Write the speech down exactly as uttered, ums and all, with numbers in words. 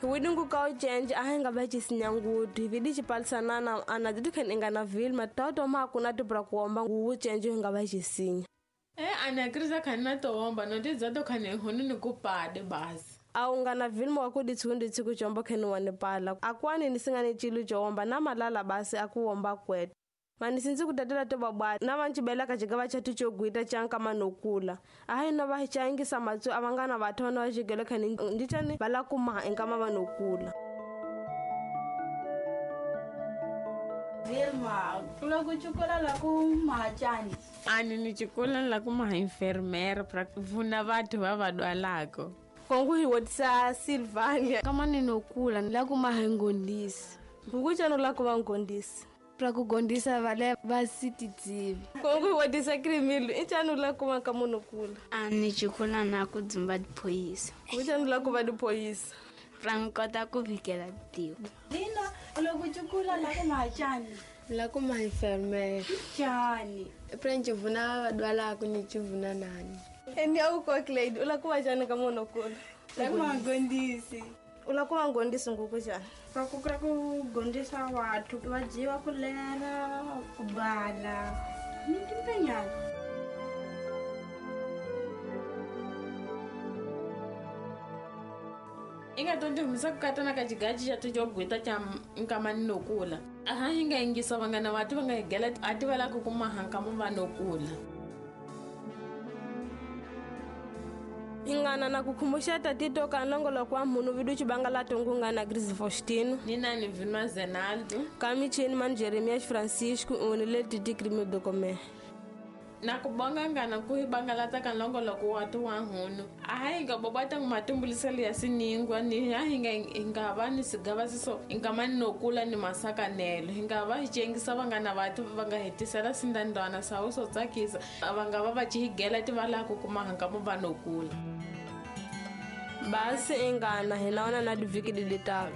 Hi ka ucenje a hi nga va cisinyangudu hi vidi cipalisanana ana titu khen inga na Vilma tauto ma kuna tibra kuomba nguwu cenje hi nga va cisinya. Eh ana krisa khani na toomba no tidza to khani hunu ni kupade basi. Aunga na Vilma wa kuditsundi tsiku chombo kheni wa nipala. Akwani nisingane chilu choomba na malala basi akuomba kwetu. Manisinzi kutatela to babwa na vanchibela kachigava chatu chogwita chanka manokula. Ahi no va hichangisa matsu avangana vathona va xigelo khani ndichani vala kuma enkama vanokula. Vilma, loko chukula la ku mahachani. Ani ni chukula la ku maha enfermera pra vuna vathu va va dwalako. Kongu hi wotisa Silvania. Kama ninokula la ku maha ngondisi. Nguchano la ku va ngondisi. Pra kugondisa vale va sitidzivi. Kongu hi wotisa Krimilu, inchano la ku va ka munokula. Ani chukula na ku dzumba diphoyisa. Nguchano la ku va diphoyisa. Pra nkota ku vikela tiko. Lina, loko chukula la ku mahachani. La ku maha enfermera. Chani. Pra nchivuna va dwalako ni chivuna nani. Eni au ko Clyde, ula ku va chani ka munokula. La ku ngondisi. Ula ku va ngondisi nguku chani. Pra ku pra ku gondisa wathu va dyiwa ku lera, ku bala. Ni timpenyana. Inga tonto humisa kukatana ka xigachi xa tijogwita cha nkamani nokula. Aha hi nga yingisa vangana vatu va nga higela a ti va la ku kuma hankama va nokula. Ingana na kukumbusha tatito ka nongolo kwa munu vidu chibanga la tungunga na Gris Faustino. Nina ni Vilma Zenaldo. Kami chini man Jeremias Francisco unile titi krimi dokome. Na kubonga ngana kuhibanga lata ka nongolo kwa watu wa hunu. Aha inga bobata ngumatumbulisa ya siningwa ni aha inga inga va ni sigava siso inga mani nokula ni masaka nelo. Inga va hichengisa vangana vatu vanga hetisela sindandwana sauso tsakisa vanga va va chihigela tivala ku kuma hankama va nokula. Basi ingana hinaona na diviki dilitalo.